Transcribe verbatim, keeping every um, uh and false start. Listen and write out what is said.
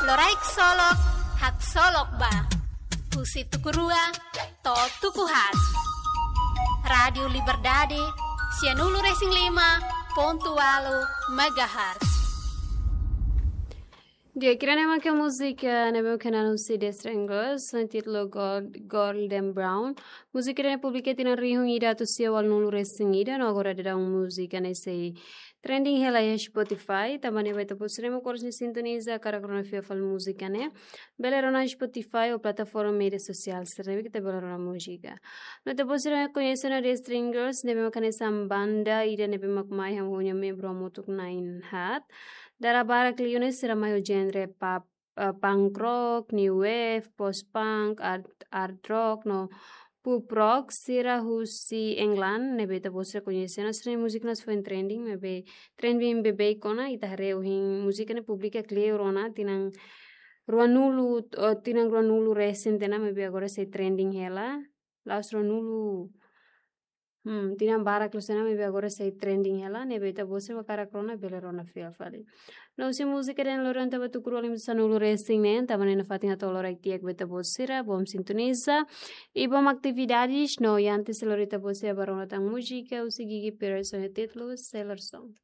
Loraik solok, haksolok ba. Husi tuku rua to'o tuku haat. Rádiu Liberdade, sianulu-resin-lima pontu ualu megahertz. Di'ak, ida-ne'e mak múzika ne'ebé mak hanesan husi The Stranglers, ho títulu Gold-, Golden Brown. Múzika ne'e publika tinan rihun ida atus sia ualunulu-resin-ida, no agora daudaun múzika ne'e sei trending hela iha Spotify. Tanba ne'e ba ita-boot sira ne'ebé oras ne'e sintoniza hakarak rona fiar fali múzika ne'e, bele rona Spotify ou plataforma média sosiál sira ne'ebé ita bele rona múzika. No ita-boot sira koñese ona The Stranglers, ne'ebé mak hanesan banda ida ne'ebé mak mai hamutuk ho nia membru hamutuk na'in haat. Dala barak liu ne'e sira mai ho genre pop, eh, punk rock, new wave, post-punk, art, art rock, no pop rock, sira husi England, ne'ebé ita-boot sira koñese ona, sira-nia múzika ne'e foin trending, ne'ebé trending beibeik ona, ita haree ohin múzika ne'e publika kleur ona, tinan ruanulu, eh, tinan ruanulu-resin tiha ona, maibé agora sei trending hela, la'ós ruanulu, hmm, tinan barak loos ona, maibé agora sei trending hela, ne'ebé ita-boot sira hakarak rona, bele rona fiar fali. No husi múzika ida-ne'e lori ona ita ba tuku rua liu sanulu-resin neen, tanba ne'e nafatin hato'o loraik di'ak ba ita-boot sira, bom sintoniza, i bom atividades, no antes lori ita-boot sira ba rona tan múzika, husi Gigi Pires ho títulu Sailor Song.